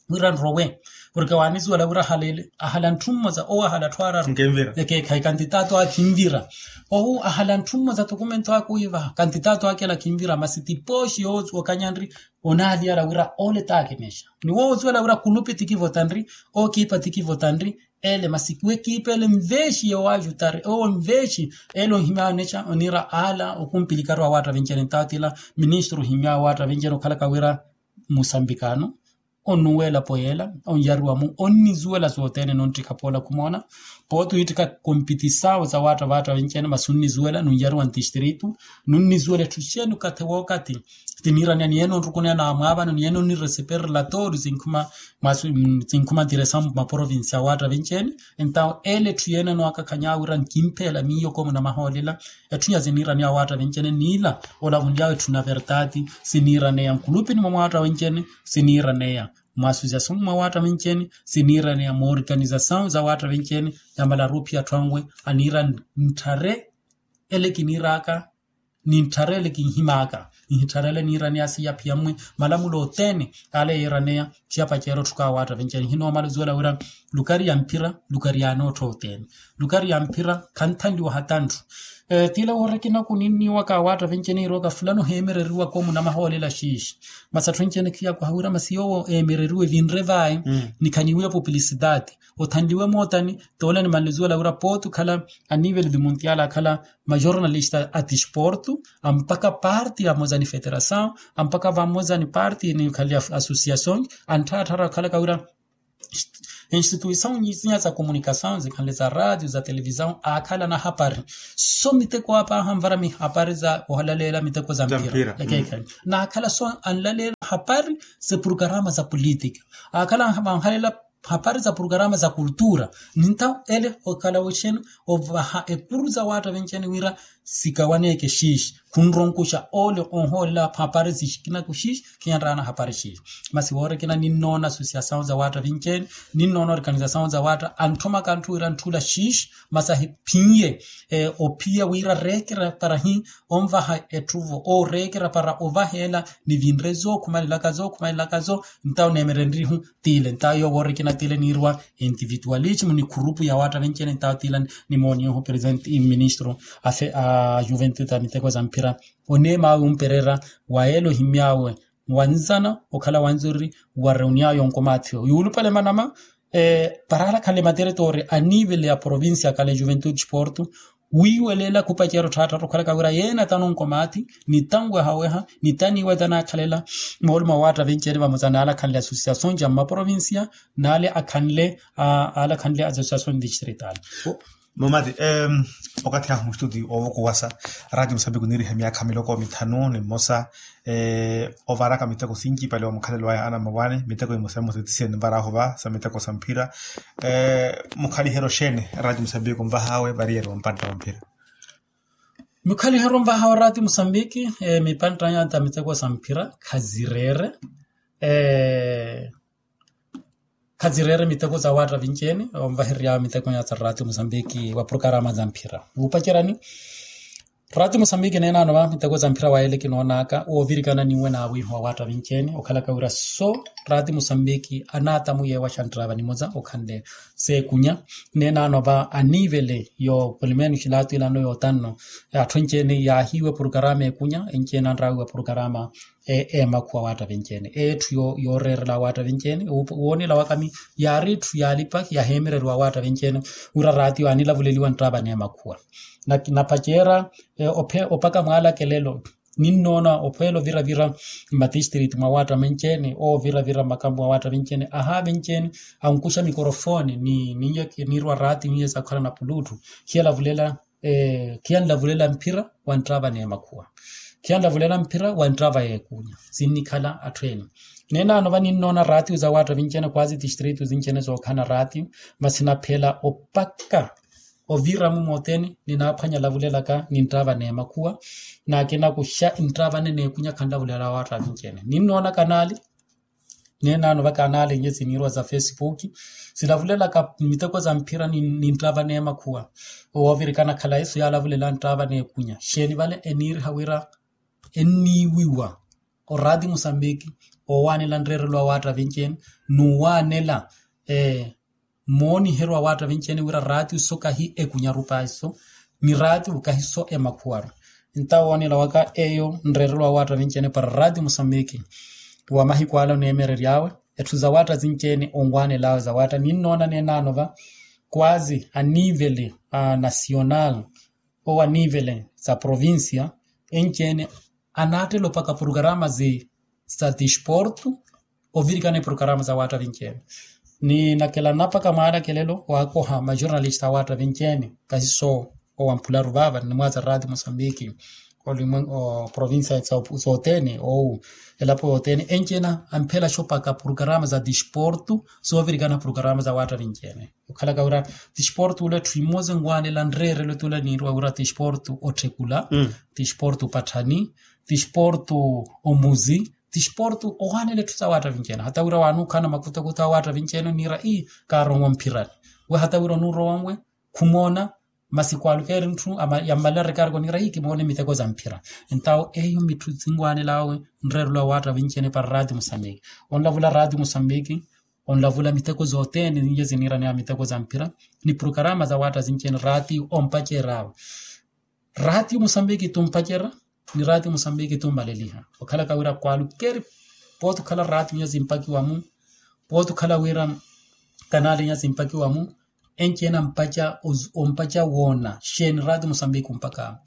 wira nrowe. Porke waanisuwela wira ahala ele ahala ntthu mmosa owo ahala atthu araru ekeekhayi kantitaatu akhinvira. Owo ahala ntthu mmosa tokumento aka oyivaha kantitaatu akela akhinvira masi tipooxi yookanyanri onaaliyala wira ole taakemexa ni wo osuwela wira kulupi tikivotanri okiipa tikivotanri. Ele masi wekiipa ele nveexiye owajutari owo nveexi ele onhimya onexa oniira ala okumpilikaru awaatta vinci-ene ntaatila ministru ohimya awaatta vinci-ene okhalaka wira musambikano onuwela poyela onyariwa mu onnisuwela sothene nonttikha poola khumoona. Pooti wiittikha kompitisawo za waatta vaatta vinci-ene masi onnisuwela nunyariwa ntistritu nunnisuwela etthu xeeni okathi wookathi. Tiniiraneya ni yeene onrukuneya naamwaavano ni yeene onniresiperi relatori sinkhuma ntiresambu maprovinsi awaatta vinci-ene. Entawo ele etthu yeene anoakakhanya wira nkimpheela miyo komu namahoolela. Etthu nya siniiraneya awaatta vinci-ene niila olavunlyawe etthu na vertati siniiraneya nkulupini mwa mwaatta wenci-ene siniiraneya mwa associason mwa waatta vinci-ene siniiraneya moorganizasaw za waatta vinci-ene yamalaru ophiya atthu anwe aniira ntthare ele kiniiraka ni ntthare ele kinhimaaka. Nhi ntthare ele niiraneya siya phiya mmwe malamulo othene ale yiiraneya. Khiyapaceera otthuka wa waatta vinci-ene nhinoomala ozuwela wira lukari ya mphira lukari ya anoottha othene lukari ya mphira khanthanliwa hata ntthu. Tila woorikina kuninniwaka waatta vinci-ene yiirowaka fulano heemereriwaka omunamaha oolela xiixi. Masi atthu enci-ene khiyakuha wira masi yoowo eemereriwe vinre vaye ni khaniwiya publicidade. Othanliwe mootani toole animanle ozuwela wira pooti okhala anivele di muntial akhala majornalista a tisportu ampaka parti amoza ni federasaw ampaka vamoza ni parti ni khali associason antthaatthaara okhalaka wira instituisaw nyizinya za komunikasaw zikhanle za ratio za televisaw aakhala na hapari so miteko apaha anvara mihapari za ohalaleela miteko za mpira. Ekeekhayi na akhala so anlaleela hapari za prukarama za politika akhala anhaleela hapari za prukarama za kultura. Nintawo ele okhala wexeni ovaha ekuru za waatta venxeni wira sikawaneeke xiixi khunronkuxa ole onhoolela hapari zixikina kuxiixi. Khiyanraana hapari xiixi masi woorikina ninnoona associasaw za waatta venxeni ninnoona organisasaw za waatta antthomaka antthu wira ntthula xiixi masi ahiphinye ophiya wira reekera para hi onvaha etthuvo ooreekera para ovaheela ni vinre zookhumalelaka zookhumalelaka zo. Ntawo neemerenrihu tiile ntawo yoowo orikina tiile niirwa individualismu ni khurupu ya waatta venxene ntawo tiila nimooniyehu presente iministro a juventude a miteko za mphira oneema awe omperera wa yeela ohimy'awe wanzana okhala wanzururi wa reuniyawe onkomaathiwa yuulupale manama para alakhanle materetori a nivele ya provincia akhala ejuventude sportu wiiweleela khupacerya otthaatthatta okhalaka wira yeene atanonkomaathi ni tanwehaweha ni taniiwa tanaakhalela moolumo wa waatta venxene vamosa n'alakhanle associason ja mmaprovincia n'ale akhanle alakhanle associason distrital. Mumati okathi ahu mustuti oovukowasa ratio musambiki oniiriha myaakha miloko mithanu ni mmosa ovaraka miteko sinci pale wa mukhalelo waya ana mmawaani miteko imosa emosa etisiya ninvaraahu va sa miteko sa mphira. Mukhaliheryo xeeni ratio musambiki onvahaawe variyari wa mpantta wa mphira? Mikhaliheryo onvahaawe ratio musambiki mipantta ya ta miteko sa mphira khazireere khazireere miteko za waatta vinxeni onvahereryaawe miteko ya ta ratio musambiki wa prukarama za mphira wuupacerani. Ratio musambiki neenaano va miteko za mphira wa yeele kinoonaka woovirikana ninwe n'awiiho wa waatta vinxeni okhalaka wira so ratio musambiki anaatamu yeewaxa nttava nimosa okhanle seekunya. Neenaano va anivele yo polimeno xilaatu ilano yootanno atthu enxene yaahiiwe prukarama ekunya enxene anraawiwa prukarama eemakhuwa waatta venxene etthu yooreerela waatta venxene woonela wakami yaari etthu yaalipa yaheemereriwa waatta venxene wira ratio aanilavuleliwa nttava n'emakhuwa. Napaceera opaka mwaalakelelo ninnoona ophweela oviravira mmatistriti mwa waatta venxene ooviravira mmakampu mwa waatta venxene ahaa venxene ankuxa mikorofoni ni niirwa ratio niye sakhwala na pulutthu khiyalavulela khiyanlavulela mphira wa nttava n'emakhuwa khiyanlavulela mphira wa nttava y'ekunya sinnikhala atthu ene. Neenaano va ninnoona ratio za waatta vinxene kwazi tistrito zinxene zookhana ratio masi naphela opaka ovira mumooteni ninaaphwanya lavulelaka ni nttava n'emakhuwa naakinakuxa nttava n'ekunya khanlavulela waatta vinxene ninnoona kanaali. Neenaano va kanaali nye siniirwa za fesipuki silavulelaka miteko za mphira ni nttava n'emakhuwa. Woovirikana khalayi so yaalavulela nttava n'ekunya xeeni vale eniiriha wira enniiwiwa oraati musambiki oowaanela nreerelo wa waatta vinxeni n'uwaanela mooniheryo wa waatta vinxeni wira raati so kahi ekunyaru paahi so ni raati kahi so emakhuwaru. Nta woonela waka eyo nreerelo wa waatta vinxene para raati musambiki wa mahiku ala oneemerery'awe etthu za waatta zinxene onwaanel'awe za waatta ninnoona neenaano va kwazi anivele a nasional owo anivele za provincia enxene anaattela opaka prukarama za tisportu ovirikana eprukarama za waatta vinxene. Ni nakela napaka mwaalakelelo waakoha majornalista a waatta vinxene kahi so owa mphularu vaava ni nimwaaza raati musambiki olimwengu provincia sothene ou elapo yothene enxene amphelaxa opaka prukarama za tisportu soovirikana prukarama za waatta vinxene. Okhalaka wira tisportu ula etthu imoza enwaanela nreerelo tula niirwa wira tisportu otthekula tisportu opatthani tisportu omuzi Tisportu owaanela etthu sa waatta vinci-ene hata wira waanuukhana makutakutha a waatta vinci-ene oniira ii kaaronwa mphirani. We hata wira onuurowa nwe khumoona masi kwaalukeeri ntthu yammalereke ariki oniira ii kimoone miteko za mphira. Entawo eyo mitthu sinwaanelaawe nreerelo a waatta vinci-ene para raati musambiki. Onlavula raati musambiki onlavula miteko zothene zinje ziniiraneya miteko za mphira ni porokarama za waatta vinci-ene raati ompaceraawe. Raati musambiki tumpacerya ni raati musambiki tummaleliha okhalaka wira kwaalukeeri. Pooti okhala raati nyo zimpakiwa mu pooti okhala wira kanali nyo zimpakiwa mu enci-ene ampaca ompaca woona xeeni raati musambiki ompaka.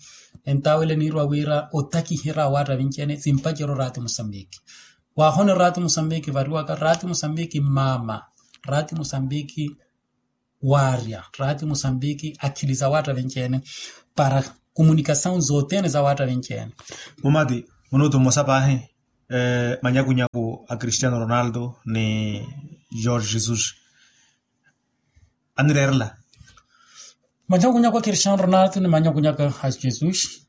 Entawo ele niirwa wira otakiherya a waatta vinci-ene zimpacerya oraati musambiki. Waahono raati musambiki variwaka raati musambiki mmaama raati musambiki waarya raati musambiki akhili za waatta vinci-ene para komunikasawu zothene za waatta vinci-ene. Mumati munutu mmosa paahi manyakunyaku a cristiano ronaldo ni george jesus. Anireerela manyakunyaku a cristiano ronaldo ni manyakunyaku a jesus.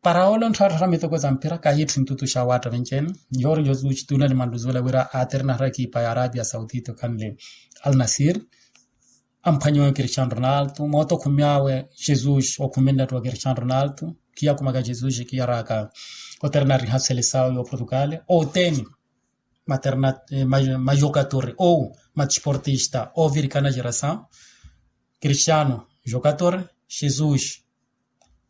Para ole onttharatthara miteko za mpira kahiitthu ntutu xa waatta vinci-ene. George jesus tuunali manluzuwela wira aaterinaherya ekipa ya arabia saudita okhanle alnasir. Amphwanyiwe cristiano ronaldo moota okhumy'awe jesus okhumenlattu wa cristiano ronaldo. Khiyakhumaka jesus khiyaraka oterina ariha selesawo y'oportugal. Othene materna majokatori ou matisportista ovirikana gerasawo. Cristiano jokatore jesus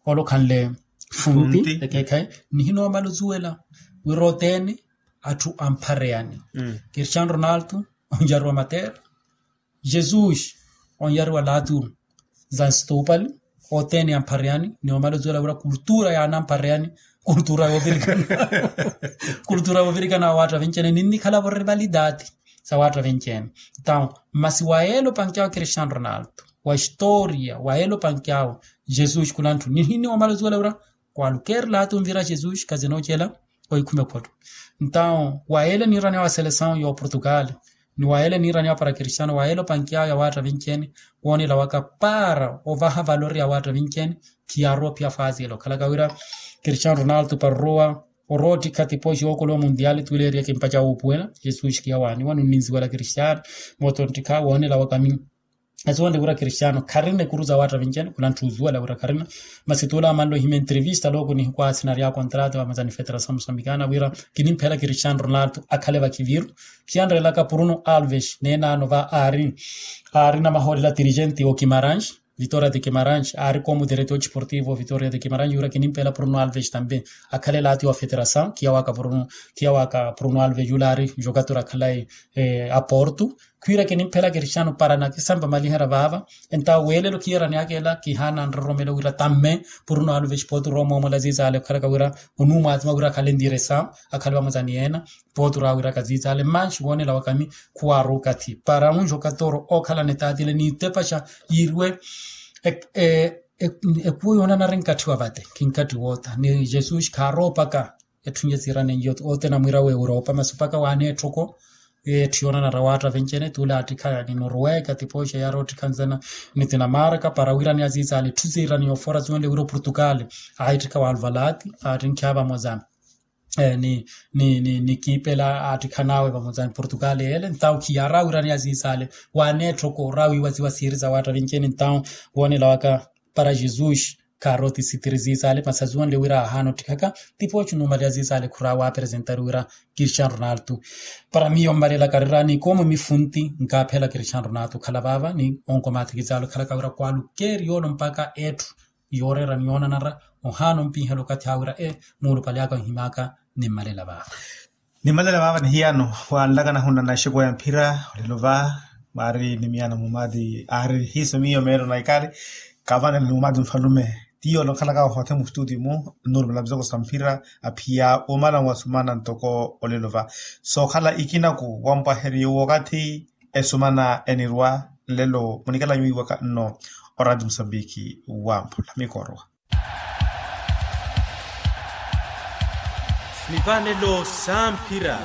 ole okhanle funti ekeekhayi. Nihinoomala ozuwela wira othene atthu amphareyani cristiano ronaldo onjariwa matera jesus onjariwa latu za nstupali. Othene amphareyani ni omala ozuwela wira kultura yaana amphareyani kultura yoovirikana kultura yoovirikana wa waatta vinci-ene ninnikhala vo rivalidati sa waatta vinci-ene. Entawo masi wa yeela opanky'awe cristiano ronaldo wa historia wa yeela opanky'awe jesus khulanthu nihinni omala ozuwela wira kwaalukeeri latu onvira jesus khazinoocela oikhume photto. Entawo wa yeela eniiraneya wa selesawo y'oportugal ni wa yeela eniiraneya para cristiano wa yeela opanky'awe ya waatta vinci-ene woonela waka para ovaha valori ya waatta vinci-ene. Khiyaarowa ophiya fasi ele okhalaka wira cristiano ronaldo para orowa orowa ottikha tipoxi yookola omundiali tuleeriye kimpaca wuupuwela jesus khiyawaaniwa nunninziwela cristiano. Moota onttikha woonela waka mi asuwele wira cristiano kharina ekuru za waatta vinci-ene khulanthu osuwela wira kharina. Masi tuula amanle ohima entrevista looko nihikwaasinarya contrato vamazani federasawo musambikana wira kinimphela cristiano ronaldo akhale vakhiviru. Khiyanreelaka pruno alves neenaano va aari aari namahoolela dirigente okimarange vitoria de kimarange aari komudereti otisportivo vitoria de kimarange wira kinimphela pruno alves tambe akhale laati wa federasawo khiyawaaka pruno alves yula aari jokatori akhalayi aporto. Khwiira kinimphela cristiano para nakisampa maliherya vaava entawo weelelo khiyeraneyaka ela kihaana nroromelo wira tamme puru nowaluva exipootu roomoomola ziizale okhalaka wira onuumwatima wira akhale ndiresa akhale vamuzani yeena. Pootu raawiraka ziizale manxi woonela wakami khuwaaruka thi para munxoka tooro ookhalana etaatile niitepaxa yiiriwe. Ekuwo yoonanari nkatthi wa vate khinkathi wootha ni jesus khaaroopaka. Etthu nje siirane njo othene amwiira w'europa masi opaka waaneetthoko. Etthu yoonanara waatta vencene tuula aattikha ni noruweka tipooxa yaari oottikha nzana ni tinamarka para wiirane aziizaale etthu siirane yoofoora siwonle wiira oportugal. Aahittikha waaluvalaati aattinkhiha vamoza ni ni ni ni kiipela aattikhanaawe vamoza ni portugal yeele ntawo khiyaari awiirane aziizaale. Waaneetthoko rawiiwa siwa siiri sa waatta vencene ntawo woonela waka para jesus. Khaari otisitiri ziizale masi aziwonle wira aahaana ottikhaka. Tipooxi numali aziizale khuraawa apresentari wira cristiano ronaldo. Para miyo mmalelaka rira ni koomo mifunti nkaaphela cristiano ronaldo okhala vaava ni onkomaatiki zaale okhalaka wira kwalukeeri yoolo mpaka etthu yooreera ni yoonanara. Ohaana ompinhela okathi awe wira e muulupale aka onhimaaka. Nimmalela vaava. Nimmalela vaava ni hiyano wanlaka nahunna na exeku ya mphira olelo va mwaari ni miyano mumati aari hiiso miyo meelo na ikali. Kavanela ni mumati nfalume tiyo olokhalaka ohothe mustuti mu nurumela mizoko sa mphira aphiya omala nwasumana ntoko olelo va sookhala ikinaku wampwaheriyo wakathi esumana enirwa nlelo munikalanyu wiiwaka nno. Orati musambiki wamphula mikorwa. Nivanelo sa mphira.